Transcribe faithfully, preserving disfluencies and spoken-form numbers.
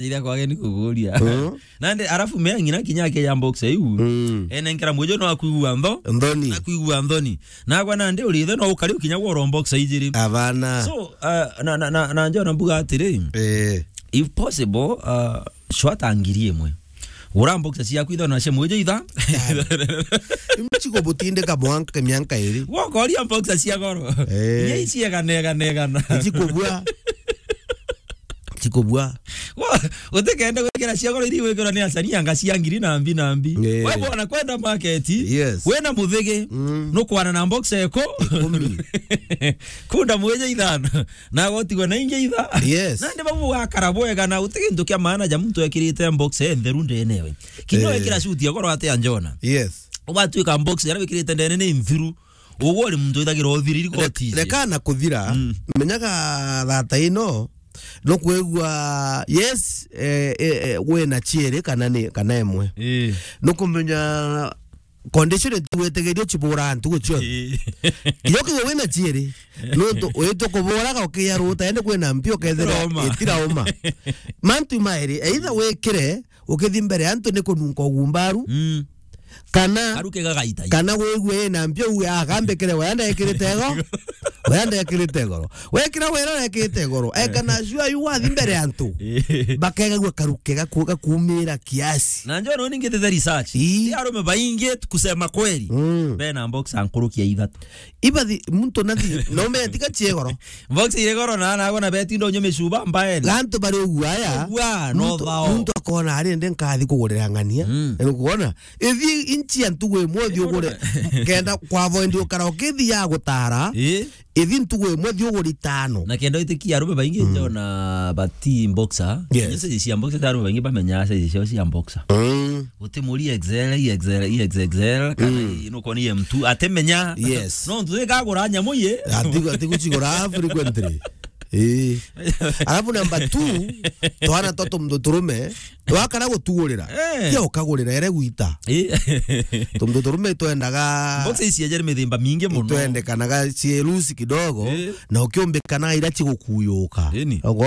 Ira kwage ni kuguria. Mm. Nandi, arafu mea ng'ina kinya ake ya box iu. Mm. Ene nkira mwijo no akwigua ntho. Nthoni. Akwigua nthoni. Nagwa nandi urithe no ukari ukinya gwa box ijiri. Abana. So, uh, na, na, na, na njona mbuga atiri, eh, if possible, uh, shwata ngiri imwe. Gura box ciaku itha na cia mwijo itha. Imwe cikubutindika mwanka mianka iri. Wokoria box cia goro. Eh. Iria iciegana, egana, egana. Icikubua. Cikubua. Wo, utikende gwikira cia goro iria igwikirwa ni acani anga cia ngiri na mbi na mbi. Eh. We bwana kwenda market, yes, wina muthigi, mm, nukwana na box eko. Ikumi. Kunda mwijo ithano. Na gotigwa na ingi itha. Yes. Nandi bau bugakara bwega na uti gintu kia maana ja muntu ekirite box entheru ndenewe. Kinya, eh, wikira suit ya goro atia njona. Yes. Ugatuika box iria wikirite ndene ni nthiru. Uguo ri muntu withagira uthiriri. Rek-, goti ici. Reka na kuthira, mm, menyaga thata ino, no kwigua, yes, eh, eh, eh, wina ciiri kana ni, kana imwe. Ii. No kumenya condition tu wetegerio cibura ntugu cionthe. Ii. Kinya ukiigua wina ciiri, nontu witwa kuburaga ukiya ruta, ende kwina mpio ukethira itirauma. Itirauma. Mantu mairi, either wikire, ukithi mbere ya antu ni kununka ugumbaru, mm, kana, karuke gagaita. Kana wigue ina mpio uwe, "Ah, kambikire, we anda ekirite goro." We anda ekirite goro. Wekira wera ekirite goro. Ekana jua yu wathi mbere ya antu. Bakegagua karuke gaku-, gakumira kiasi. Na njoo noni ngitete research. Ii. Ti arume baingi kusema kweli. Mm. Bena box ankurukia ithatu. Ibathi, muntu nathi, na ume tiga ciegoro. Box ire goro na, na gona beti ndo nyume shuba mbaeni. Gantu bari uguo aya. Uguo, no muntu, thao. Muntu akona ari ndi nkathi kugurira ng'ania. Mm. Ni kuona? Ithi inchi ya ntugu imwe uthi ugure. Kenda kwa avoid ukara ukithi ya gutara. Ii. Ithi ntugu imwe thi ugure itano. Na kenda witikia arume baingi, mm, njona bati boxer. Yes. Nyo size cia boxer, arume baingi bamenya size ciao cia boxer. Mm. Uti muri X L, i X L, i X X L, kana, mm, i nuko ni M two, atemenya. Yes. No ntu ikagura nyamu ye. Atigu-, atigucigura frequently. Ii. Alafu number two, twana twa tumuthurume, twakara gutugurira. Eh. Tia ukagurira ere gwita. Ii. Tumuthurume twendaga boxer ici ejeri mithemba mingi muno. Twendekanaga cierusi kidogo, eh, na ukiumbikana ira cigukuyuka. Ii ni. Ogo